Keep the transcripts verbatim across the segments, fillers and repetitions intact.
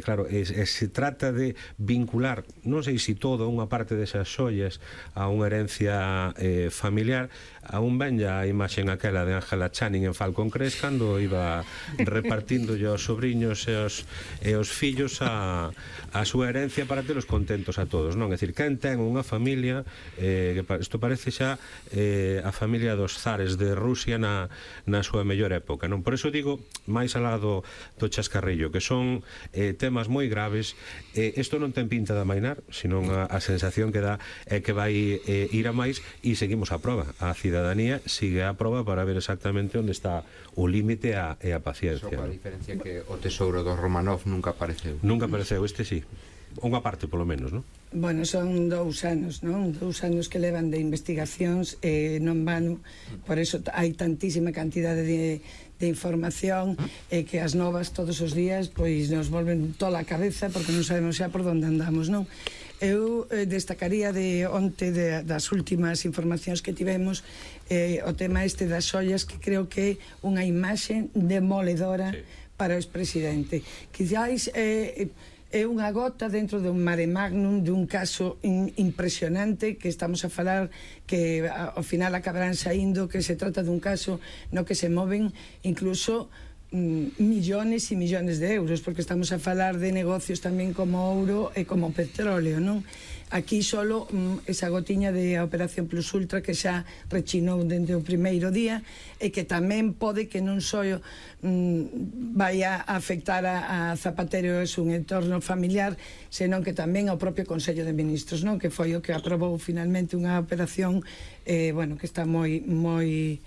Claro, e, e se trata de vincular, non sei se todo unha parte desas xollas a unha herencia eh, familiar. Aún ben a imaxe aquela de Ángela Channing en Falcon Crest cando iba repartindo aos sobrinhos e aos, e aos fillos a, a súa herencia para telos contentos a todos, non? É dicir, quen ten unha familia eh, que isto parece xa eh, a familia dos zares de Rusia na, na súa mellor época, non? Por eso digo, máis alá do, do chascarrillo, que son eh, temas moi graves. Eh, isto non ten pinta de amainar, senón a, a sensación que dá é que vai eh, ir a máis, e seguimos a proba. A cidadanía sigue a proba para ver exactamente onde está o límite e a paciencia. Só a diferencia que o tesouro do Romanov nunca apareceu. Nunca apareceu, este sí. Unha parte, polo menos, non? Bueno, son dous anos, non? Dous anos que levan de investigacións e non van, por eso hai tantísima cantidade de, de información e que as novas todos os días pois nos volven toda a cabeza porque non sabemos xa por onde andamos, non? Eu eh, destacaría de onte de, das últimas informacións que tivemos eh, o tema este das xollas, que creo que é unha imaxe demoledora sí. para o expresidente. Quizás eh, é unha gota dentro de un mare magnum, de un caso in, impresionante, que estamos a falar que ao final acabarán saindo que se trata dun caso no que se moven incluso mm, millones e millones de euros, porque estamos a falar de negocios tamén como ouro e como petróleo, non? Aquí solo mm, esa gotiña de Operación Plus Ultra que xa rechinou dende o primeiro día e que tamén pode que non só mm, vai a afectar a, a Zapatero e un entorno familiar, senón que tamén ao propio Consello de Ministros, non? Que foi o que aprobou finalmente unha operación eh, bueno, que está moi moi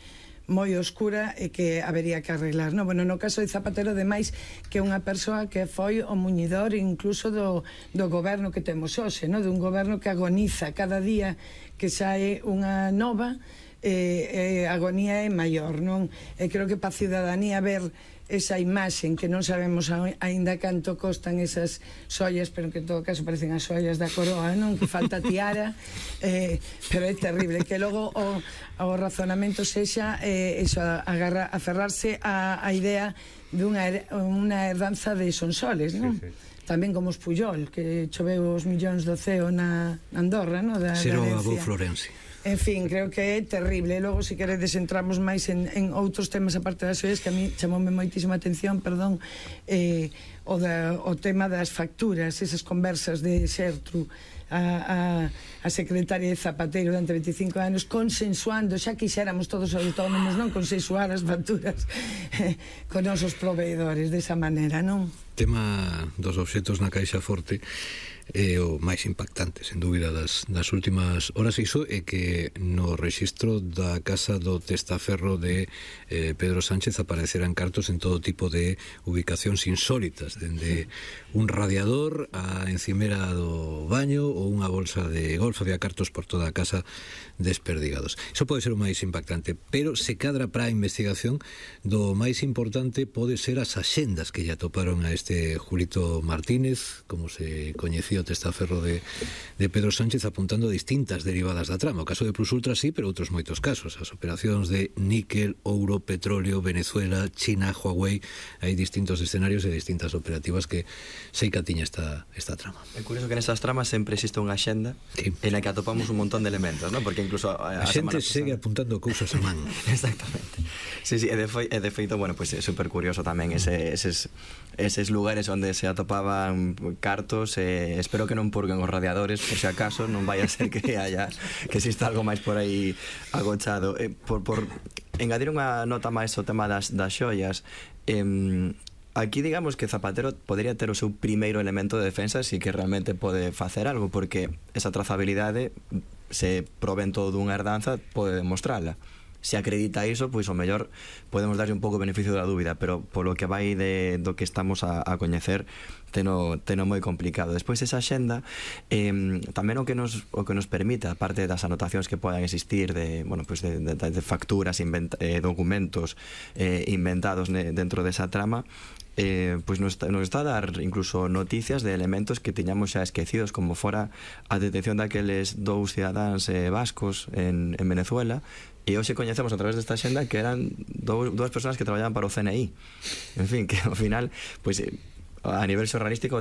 moi oscura e que habería que arreglar, non? Bueno, no caso de Zapatero, ademais, que é unha persoa que foi o muñidor incluso do, do goberno que temos hoxe, non? Dun goberno que agoniza cada día que sae unha nova, eh, eh, agonía é maior, non? E creo que para a ciudadanía ver esa imaxe que non sabemos aínda canto costan esas xoias, pero que en todo caso parecen as xoias da coroa, non? Que falta tiara, eh, pero é terrible que logo o, o razonamento sexa eh, eso, agarra, aferrarse a, a idea dunha unha herdanza de Sonsoles, non? Sí, sí. Tamén como os Puyol, que choveu os millóns do ceo na Andorra, non? Da, Xero Abou Florense. En fin, creo que é terrible. Logo, se queredes, entramos máis en, en outros temas aparte das xoias, que a mí chamoume moitísima atención, perdón, eh, o, da, o tema das facturas, esas conversas de Xertru a, a, a secretaria de Zapatero durante veinticinco anos, consensuando, xa quixéramos todos os autónomos, non consensuar as facturas eh, con nosos proveedores desa maneira, non? Tema dos obxetos na caixa forte é o máis impactante, sen dúbida, das, das últimas horas. Iso é que no rexistro da casa do testaferro de eh, Pedro Sánchez apareceran cartos en todo tipo de ubicacións insólitas, dende un radiador a encimera do baño ou unha bolsa de golf. Había cartos por toda a casa desperdigados. Iso pode ser o máis impactante, pero se cadra para a investigación do máis importante pode ser as axendas que lle atoparon a este Julito Martínez, como se coñecía o testaferro de, de Pedro Sánchez, apuntando a distintas derivadas da trama. O caso de Plus Ultra sí, pero outros moitos casos. As operacións de níquel, ouro, petróleo, Venezuela, China, Huawei. Hai distintos escenarios e distintas operativas que sei que atiña esta, esta trama. É curioso que nesas tramas sempre existe unha axenda sí. en la que atopamos un montón de elementos, ¿no? Porque incluso a, a, a xente segue apuntando cousas a man. Exactamente. Sí, sí, e de, foi, e de feito, bueno, pues é super curioso tamén ese, eses, eses lugares onde se atopaban cartos. eh, espero que non purguen os radiadores por se acaso, non vai a ser que haya que exista algo máis por aí agochado. eh, por, por engadir unha nota máis o tema das, das xoias, eh, aquí digamos que Zapatero podría ter o seu primeiro elemento de defensa si que realmente pode facer algo, porque esa trazabilidade, se proven todo dunha herdanza, pode demostrala. Se acredita iso, pois o mellor podemos darlle un pouco o beneficio da dúbida, pero polo que vai de, do que estamos a, a coñecer, teno, teno moi complicado. Despois esa axenda, eh, tamén o que nos o que nos permite, aparte das anotacións que podan existir de, bueno, pues de, de, de facturas, inventa, eh, documentos eh, inventados ne, dentro desa trama, Eh, pois nos, nos está a dar incluso noticias de elementos que tiñamos xa esquecidos, como fora a detención daqueles dous cidadáns eh, vascos en, en Venezuela, e hoxe coñecemos a través desta xenda que eran dous, dúas persoas que traballaban para o C N I. En fin, que ao final, pois, a nivel xornalístico